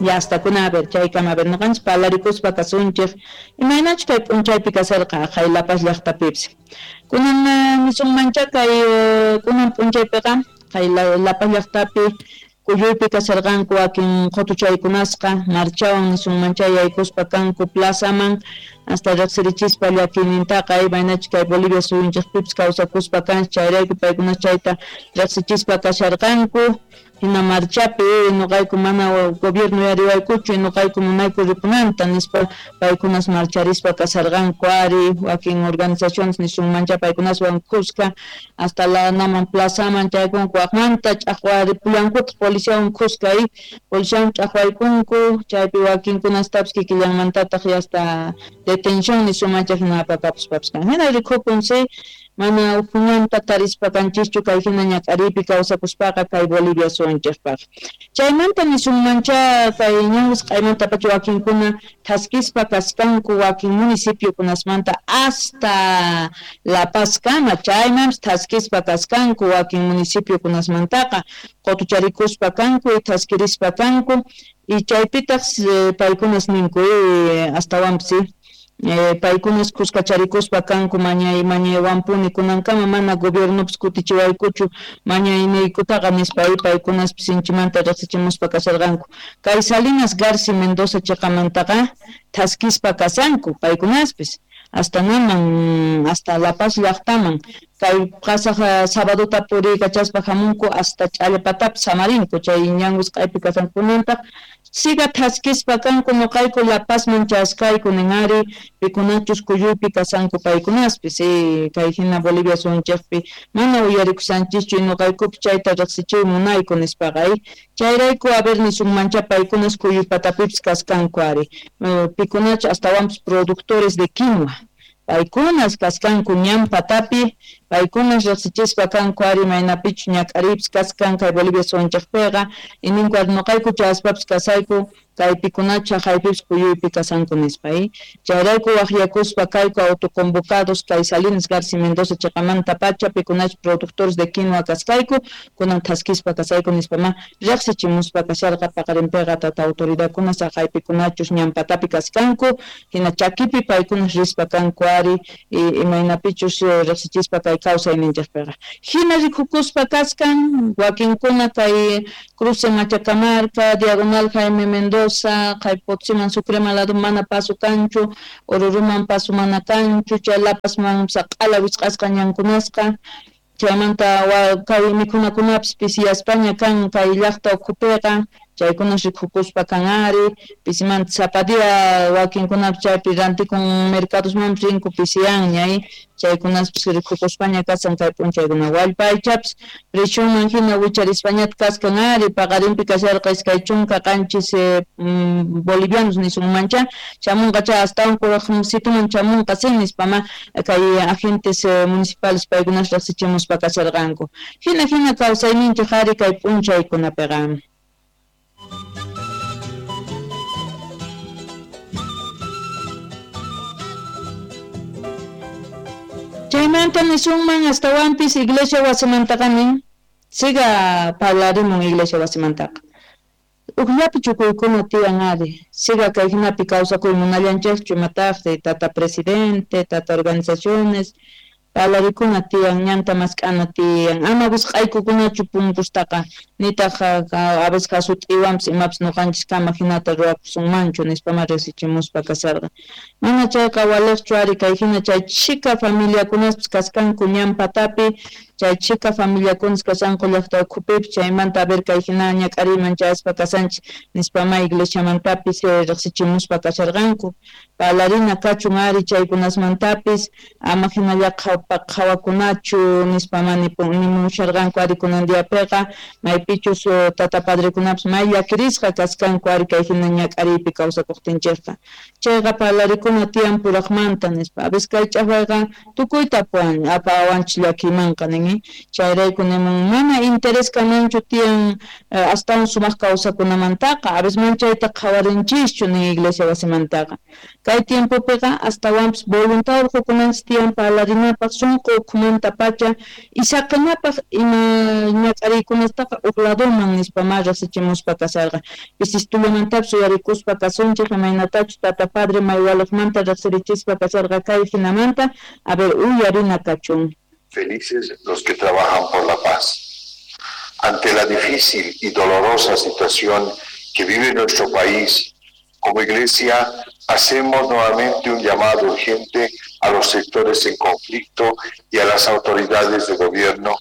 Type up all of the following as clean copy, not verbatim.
Ya hasta kuna a ver chaykama a ver ñuqanchik parlarikuspa kasunchik imaynachu kay p'unchaypi kasarqa haqay La Paz llaqtapipis. Kunan nisunmancha kay kunan p'unchaypiqa kay La Paz llaqtapi kuyuypi kasarqanku wakin qutuchaykunasqa marchawan nisunmancha yaykuspa kanku plazaman hasta riqsirichispa llakiynintaqa imaynachu kay Bolivia suyunchikpipis kawsakuspa kanchik chayrayku paykuna chayta riqsichispa kasharqanku hina marchapi ñuqayku mana gobierno yariwaykuchu ñuqayku munayku ripunanta nispa paykunas marcharispa kasarqanku ari wakin organizaciones nisunmancha paykunaswan kuska hasta la naman plazaman chaykunku waqmanta ch'aqwaripullankutaq policiawan kuska policiawan ch'aqwaykunku chaypi wakinkunastapis kikillanmantataq hasta detención nisunmancha hina apakapuspapis kan hina rikukun si mana ukhuñanta tarispa kanchischu kay hina ñak'ariypi kawsakuspaqa kay Bolivia suyunchikpaq. Chaymanta nisunmancha kay ñan wisq'aymantapacha wakinkuna thaskispa kaskanku wakin municipiokunasmanta hasta La Paz kama chaymanpis thaskispa kaskanku wakin municipiokunasmantaqa qutucharikuspa kanku y thaskirispa kanku y chaypitaq paykunas ninku astawanpis paykunas kuskacharikuspa kanku mañaywanpuni kunankama mana gobiernopis kutichiwaykuchu mañayniykutaqa nispa paykunaspis sinchimanta riqsichimuspa kasharqanku kay Salinas Garci Mendoza chiqamantaqa thaskispa kasanku paykunaspis hasta naman hasta La Paz llaqtaman kay qasaq sabadota puriykachaspa hamunku hasta Ch'allpatapis samarinku chay ñan wisq'aypi kasankunantaq siga thaskispa kanku ñuqayku La Pazman chaskayku nin ari pikunachus kuyuypi kasanku paykunaspis kay hina Bolivia suyunchikpi mana uyarikushanchischu ñuqaykupi chayta riqsichiy munayku nispaqa chayrayku a ver nisunmancha paykunas kuyuypatapipis kaskanku ari pikunachu astawanpis productores de quinua paykunas kaskanku ñan patapi paykunas riqsichispa kanku ari maynapichu ñak'ariypis kaskan kay Bolivia suyunchikpiqa y ninku ari ñuqayku chayaspapis kasayku kaypikunachu haqaypipis kuyuypi kasanku nispa chayrayku waqyakuspa kayku autoconvocados kay Salinas Garci Mendoza chiqamantapacha pikunachu productores de quinua kaskayku kunan thaskispa kasayku nispa ma riqsichimuspa kasharqa paqarinpiqa tata autoridadkunas haqaypikunachus ñan patapi kaskanku hina chakipi paykunas rispa kanku ari imaynapichus riqsichispa kay kawsayninchikpiqa hina rikukuspa kaskan wakinkuna kay cruce Machacamarca diagonal Jaime Mendoza kay Potosiman Sucreman lado mana paso kanchu Oruruman paso mana kanchu chay La Pazman q'ala wisq'asqa ñankunasqa chaymanta kay mikhunakunapis pisiyaspaña kan kay llaqta ukhupiqa chaykunas rikukuspa kan ari pisimanta sapa día wakinkunapis chaypi rantikun mercadosmanpis rinku pisiyanña chaykunaspis rikukuspaña kasan kay p'unchaykuna wallpaychapis precionman hina wicharispañata kaskan ari paqarinpi kasharqa 27 bolivianos nisunmancha chamunqa chay astawan kuraqsituman chamunqa si nispama kay agentes municipales paykunas riqsichimuspa kasharqanku hina hina kawsayninchik ari kay p'unchaykunapiqa. Chaymanta nisunman astawanpis iglesia wasimantaqa nin siga parlarimun iglesia wasimantaqa ukllapi chukuykuna tiyan ari siga kay hinapi kawsakuy munallanchikchu imataqri tata presidente tata organizaciones parlarikuna tiyan ñanta mask'ana tiyan ama wisq'aykukunachu punkustaqa nitaq a veces hasut'iwanpis imapis ñuqanchis kama hinata ruwakusunmanchu nispama riqsichimuspa kasarqa mana chayqa waliqchu ari kay hina chay chhika familiakunaspis kaskanku ñan patapi chay chhika familiakunas kasanku llaqta ukhupipis chaymanta a ver kay hina ñak'ariyman chayaspa kasanchik nispama iglesiamantapis riqsichimuspa kasharqanku parlarina kachun ari chaykunasmantapis ama hinallaqa qhawakunachu nispama nimusharqanku ari kunan diapiqa maypichus tata padrekunapis may llakirisqa kaskanku ari kay hina ñak'ariypi kawsakuqtinchikqa chayqa parlarikuna tiyan puraqmanta nispa a veces kay ch'aqwayqa tukuyta apawanchik llakiymanqa nin chayrayku nimun mana interés kananchu tiyan astawan sumaq kawsakunamantaqa a veces man chayta qhawarinchischu nin iglesia wasimantaqa kay tiempopiqa astawanpis voluntad urqukunanchik tiyan parlarinapaq sunqu ukhumantapacha y saqinapaq ima ñak'ariykunastaqa huk ladoman nispamá riqsichimuspa kasharqa. Pisistullamantapis uyarikuspa kasunchik imaynatachus tata padre Maywaliqmanta riqsirichispa kasharqa kay hinamanta. A ver, uyarina kachun. Felices los que trabajan por la paz. Ante la difícil y dolorosa situación que vive nuestro país, como Iglesia hacemos nuevamente un llamado urgente a los sectores en conflicto y a las autoridades de gobierno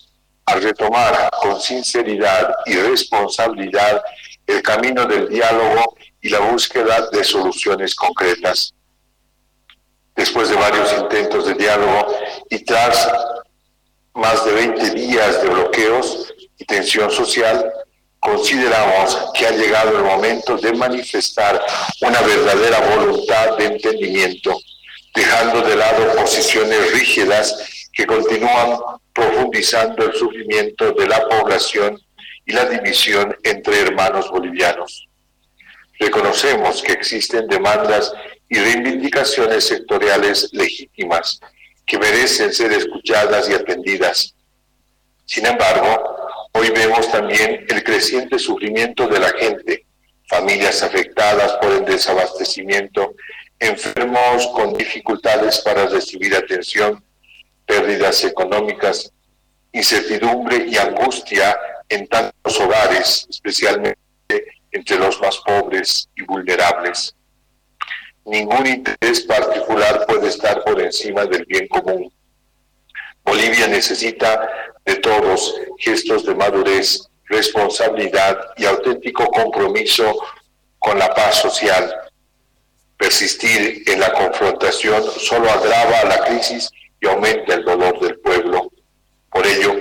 a retomar con sinceridad y responsabilidad el camino del diálogo y la búsqueda de soluciones concretas. Después de varios intentos de diálogo y tras más de 20 días de bloqueos y tensión social, consideramos que ha llegado el momento de manifestar una verdadera voluntad de entendimiento, dejando de lado posiciones rígidas que continúan profundizando el sufrimiento de la población y la división entre hermanos bolivianos. Reconocemos que existen demandas y reivindicaciones sectoriales legítimas que merecen ser escuchadas y atendidas. Sin embargo, hoy vemos también el creciente sufrimiento de la gente, familias afectadas por el desabastecimiento, enfermos con dificultades para recibir atención, pérdidas económicas, incertidumbre y angustia en tantos hogares, especialmente entre los más pobres y vulnerables. Ningún interés particular puede estar por encima del bien común. Bolivia necesita de todos gestos de madurez, responsabilidad y auténtico compromiso con la paz social. Persistir en la confrontación solo agrava la crisis y aumenta el dolor del pueblo. Por ello,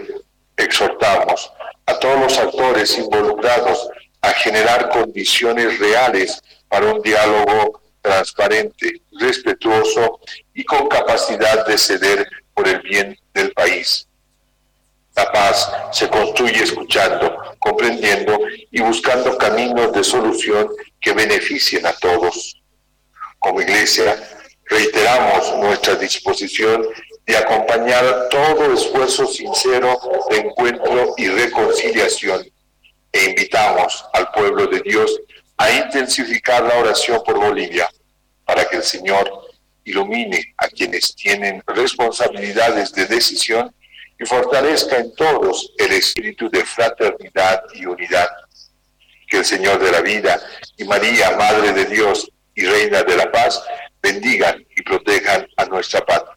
exhortamos a todos los actores involucrados a generar condiciones reales para un diálogo transparente, respetuoso y con capacidad de ceder por el bien del país. La paz se construye escuchando, comprendiendo y buscando caminos de solución que beneficien a todos. Como Iglesia, reiteramos nuestra disposición de acompañar todo esfuerzo sincero de encuentro y reconciliación, e invitamos al pueblo de Dios a intensificar la oración por Bolivia, para que el Señor ilumine a quienes tienen responsabilidades de decisión y fortalezca en todos el espíritu de fraternidad y unidad. Que el Señor de la vida y María, Madre de Dios y Reina de la Paz, bendigan y protejan a nuestra patria.